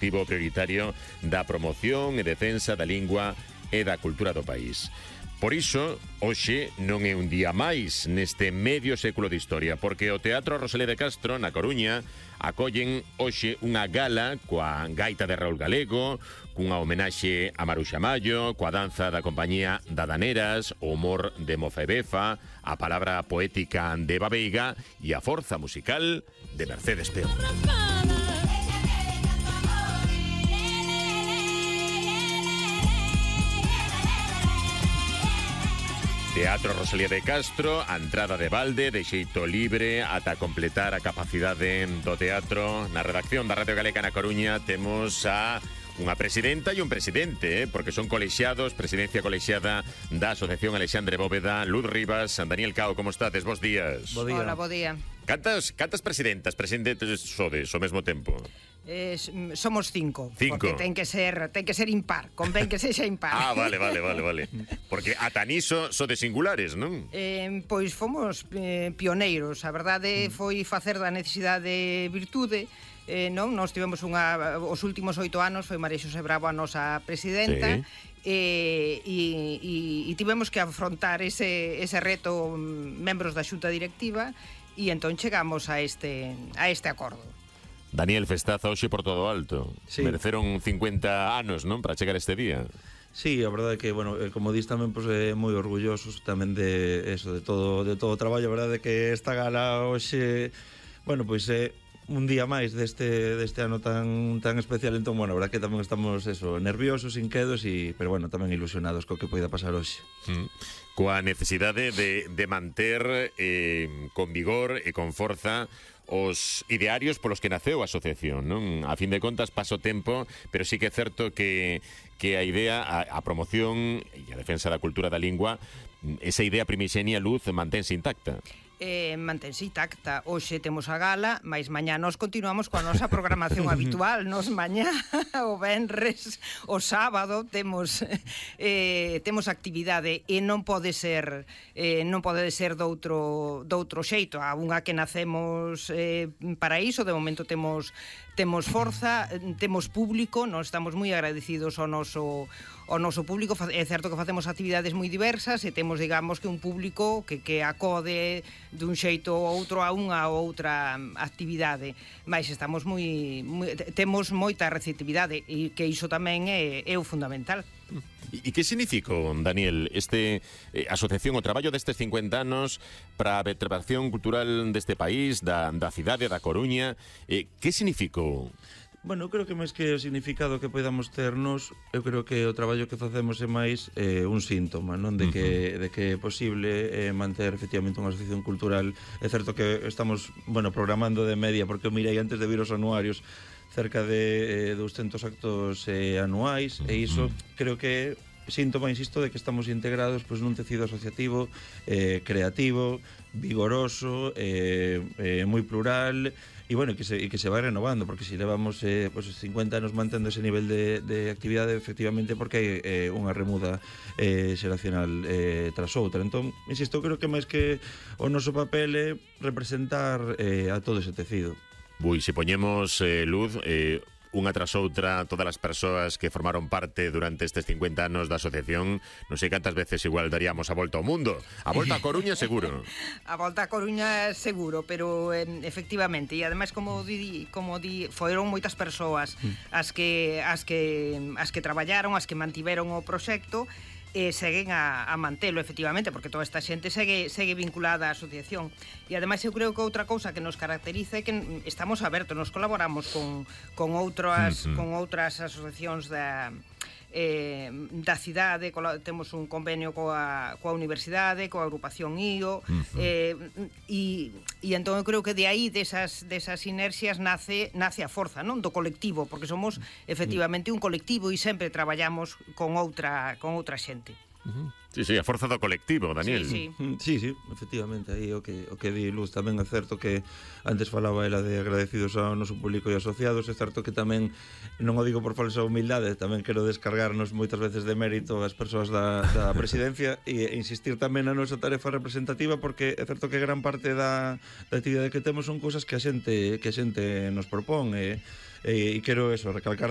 obxectivo prioritario da promoción e defensa da lingua e da cultura do país. Por iso, hoxe non é un día máis neste medio século de historia, porque o Teatro Rosalía de Castro, na Coruña, acollen hoxe unha gala coa gaita de Raúl Galego, cunha homenaxe a Maruxa Mallo, coa danza da compañía Dadaneras, o humor de Moza e Befa, a palabra poética de Eva Veiga e a forza musical de Mercedes Peón. Teatro Rosalía de Castro, a entrada de balde, de xeito libre, ata completar a capacidade do teatro. Na redacción da Radio Galega na Coruña temos a unha presidenta e un presidente, porque son colexiados, presidencia colexiada da Asociación Alexandre Bóveda, Luz Rivas, Daniel Cao, como estades? Bos días. Bo día. Hola, bo día. Cantas presidentes sodes ao mesmo tempo? Somos 5. Cinco. Porque ten que ser impar. Convén que sexa impar. Vale. Porque ata niso sodes singulares, non? Pois fomos pioneiros. A verdade foi facer da necesidade virtude. Non, nós tivemos os últimos 8 anos foi María Xosé Bravo a nosa presidenta. E tivemos que afrontar ese reto membros da xunta directiva e entón chegamos a este acordo. Daniel, festaza hoxe por todo alto. Sí. Mereceron 50 anos, non, para chegar a este día. Sí, a verdade é que, bueno, como dis tamén, pois, moi orgullosos tamén de eso, de todo o traballo. A verdade é que esta gala hoxe, bueno, pois un día máis deste ano tan especial. Entón, bueno, a verdade que tamén estamos nerviosos, inquedos, pero bueno, tamén ilusionados co que poida pasar hoxe. Coa necesidade de manter con vigor e con forza os idearios polos que naceu a asociación, non? A fin de contas paso tempo, pero sí que é certo que a idea, a promoción e a defensa da cultura da lingua, esa idea primixenia, Luz, mantense intacta. Mantense intacta. Hoxe temos a gala, mais mañá nos continuamos coa nosa programación habitual. Nos mañá, o venres, o sábado temos actividade e non pode ser doutro xeito. A unha que nacemos para iso. De momento temos forza, temos público, nós estamos moi agradecidos ao noso público. É certo que facemos actividades moi diversas e temos, digamos, que un público que acode dun xeito ou outro a unha ou outra actividade, mas estamos temos moita receptividade e que iso tamén é o fundamental. E que significou, Daniel, asociación, o traballo destes 50 anos para a vertebración cultural deste país, da cidade da Coruña? Que significou? Bueno, eu creo que máis que o significado que podamos ternos, eu creo que o traballo que facemos é máis un síntoma, non? De que é posible manter efectivamente unha asociación cultural. É certo que estamos, bueno, programando de media, porque eu mirei antes de vir os anuarios, cerca de 200 actos anuais, e iso creo que síntoma, insisto, de que estamos integrados nun tecido asociativo creativo, vigoroso, moi plural, e bueno, que se vai renovando, porque se levamos 50 anos mantendo ese nivel de actividade, efectivamente, porque hai unha remuda xeracional tras outra. Entón, insisto, creo que máis que o noso papel é representar a todo ese tecido. Se poñemos, Luz, unha tras outra, todas as persoas que formaron parte durante estes 50 anos da asociación, non sei cantas veces igual daríamos a volta ao mundo. A volta a Coruña seguro. A volta a Coruña seguro, pero efectivamente, e ademais como di, foron moitas persoas as que traballaron, as que mantiveron o proxecto, seguen a mantelo, efectivamente, porque toda esta xente segue vinculada á asociación. E ademais eu creo que outra cousa que nos caracteriza é que estamos abertos, nos colaboramos con outras asociacións da cidade, temos un convenio coa universidade, coa agrupación IO, e entón eu creo que de aí, desas inercias, nace a forza, non, do colectivo, porque somos efectivamente un colectivo e sempre traballamos con outra xente. Sí, a forza do colectivo, Daniel. Sí, efectivamente, aí o que di Luz tamén é certo que antes falaba ela de agradecidos ao noso público e asociados. É certo que tamén, non o digo por falsa humildade, tamén quero descargarnos moitas veces de mérito as persoas da presidencia e insistir tamén na nosa tarefa representativa, porque é certo que gran parte da actividade que temos son cousas que a xente nos propón, e quero recalcar